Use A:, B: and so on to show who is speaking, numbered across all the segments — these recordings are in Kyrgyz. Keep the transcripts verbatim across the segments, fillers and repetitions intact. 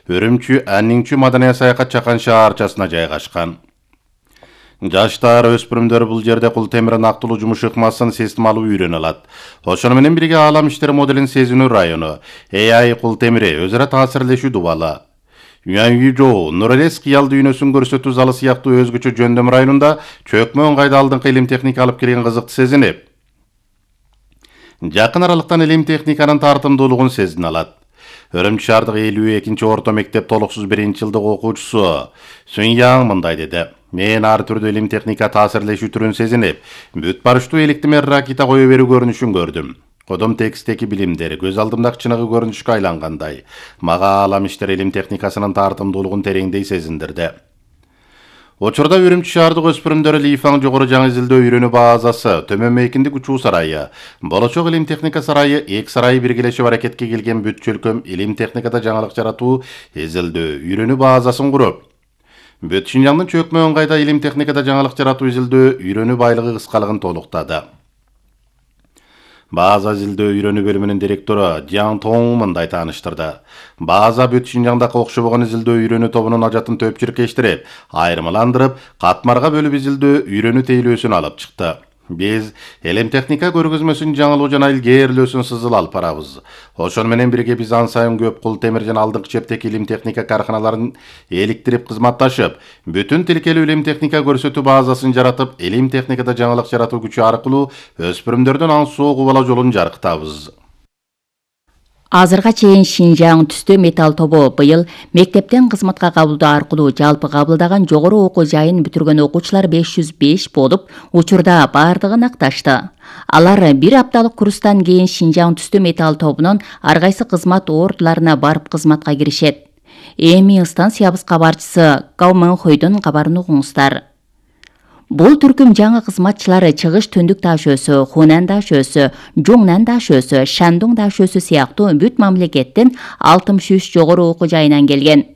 A: Үрүмчү Аннingчү маданий саякат чакан шаарчасына жайгашкан. Жаштар, өспүрүмдөр бул жерде кул темирин актылуу жумуш ыкмасын системалуу үйрөнө алат. Ошону менен бирге Аалам иштери моделин сезинүү району, A I кул темири өзара таасирлешүү дубалы. Юанюжоу, Нурелес кыял дүйнөсүн көрсөтүү залы сыяктуу өзгөчө жөндөм районунда чөкмө ыңгайда алдыңкы илим техника алып келген кызыкты сезинип, жакын аралыктан илим техниканын тартымдуулугун сезине алат. Үрүмчү шаардык элүү экинчи орто мектеп толуксуз биринчи жылдык окуучусу Сүньяң мындай деди. Мен ар түрдүү илим техника таасирлешүү түрүн сезинип, бүт барыштуу электимер ракета кое берүү көрүнүшүн көрдүм. Кодом текстеки билимдер көз алдымдагы чыныгы көрүнүшкө айлангандай. Мага Аалам иштери илим техникасынын тартымдуулугун тереңдей сезиндирди. Учурда Үрүмчү шаардык өспүрүмдөр Лифаң жогору жаңы изилдөө үйрөнүү базасы, Төмөн Мейкиндик учуу сарайы, Болочок илим техника сарайы, эки сарайы биргелешип аракетке келген бүт чөлкөм илим техникада жаңылык жаратуу изилдөө үйрөнүү базасын куруп, бүт Шинжаңдын чөкмө ыңгайда илим техникада жаңылык жаратуу изилдөө үйрөнүү байлыгы кыскалыгын толуктады. База изилдөө үйрөнүү бөлүмүнүн директору Жан Тоң мындай тааныштырды. База бүт Шинжаңдагы окшобогон изилдөө үйрөнүү тобунун ажатын төпчүркештирип, айырмаландырып, катмарга бөлүп изилдөө үйрөнүү тейлөөсүн алып чыкты. Биз илим техника көргөзмөсүн жаңылуу жана илгээрлөөсүн сызыл алып барабыз. Ошону менен бирге биз ан сайын көп кул темир жана алдыңкы чептеги илим техника карканаларын эликтирип кызматташып, бүтүн тилкелүү илим техника көрсөтүү базасын жаратып, илим техникада жаңылык жаратуу күчү аркылуу өспүрүмдөрдүн ансоо кубала жолун жаркытабыз.
B: Азырга чейин Шинжаң түстө металл тобу быйыл мектептен кызматка кабылдоо аркылуу жалпы кабылдаган жогору окуу жайын бүтүргөн окуучулар беш жүз беш болуп, учурда бардыгын акташты. Алар бир апталык курстан кийин Шинжаң түстө металл тобунун ар кайсы кызмат ордуларына барып кызматка киришет. Эми станциябыз кабарчысы Гау Мэнхойдун кабарын угуңуздар. Бул түркүм жаңы кызматчылары Чыгыш Түндүк Таш өөсү, Хунан Таш өөсү, Жуңнан Таш өөсү, Шандуң Таш өөсү сыяктуу бүт мамлекеттин алтымыш үч жогору окуу жайынан келген.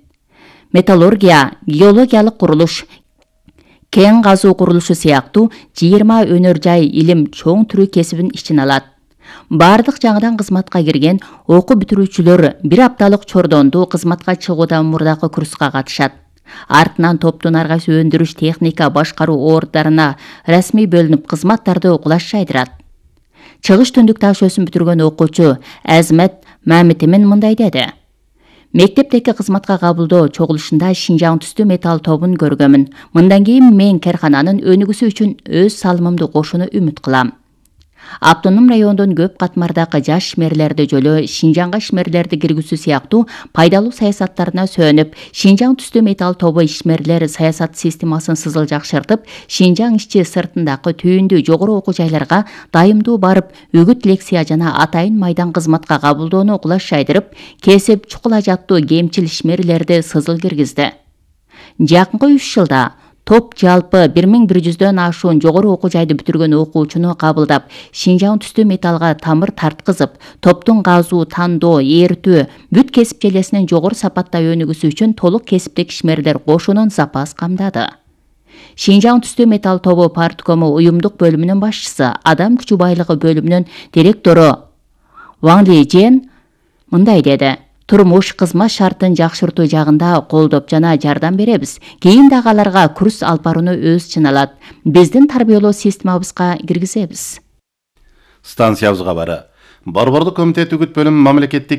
B: Металлургия, геологиялык курулуш, кен казуу курулушу сыяктуу жыйырма өнөр жай илим чоң түрү кесибин ичине алат. Бардык жаңыдан кызматка кирген окуу бүтүрүүчүлөр бир апталык чордондуу кызматка чыгуудан мурдакы курска катышат. Артынан топтун ар кайсы өндүрүш техника башкаруу орддарына расмий бөлүнүп кызматтарды кулаш жайдырат. Чыгыш Түндүк Таш өөсүн бүтүргөн окуучу Азмет Мамитимин мындай деди. Мектептеки кызматка кабылдоо чогулушунда Шинжаң түстүү металл тобун көргөмүн. Мындан кийин мен каркананын өнүгүүсү үчүн өз салымымды кошууну үмүт кылам. Автоном райондон көп катмардагы жаш ишмерлерди жөлөө, Шинжаңга ишмерлерди киргизүү сыяктуу пайдалуу саясаттарына сөнүп, Шинжаң түстүү металл тобу ишмерлер саясат системасын сызыл жакшыртып, Шинжаң ичи сыртындагы түйүндүү жогору окуу жайларга дайымдуу барып, үгүт лекция жана атайын майдан кызматка кабылдоону кулаш жайдырып, кесип чукула жаттуу кемчил ишмерлерди сызыл киргизди. Жакынкы үч жылда топ жалпы бир миң бир жүздөн ашуун жогору окуу жайды бүтүргөн окуучуну кабылдап, Шинжаң түстүү металлга тамыр тарткызып, топтун казуу, тандоо, ээртүү, бүт кесип желесинин жогору сапатта өнүгүүсү үчүн толук кесиптик ишмерлер кошуунун запас камдады. Шинжаң түстүү металл тобу парткому уюмдук бөлүмүнүн башчысы, адам күчү байлыгы бөлүмүнүн директору Ваң Лижен мындай деди. Турмуш кызмат шартын жакшыртуу жагында колдоп жана жардам беребиз. Кийин дагы аларга курс алып барууну өз ичине алат. Биздин тарбиялоо системабызга киргизебиз.
A: Станциябыз кабары. Борбордук комитет үгүт бөлүм мамлекеттик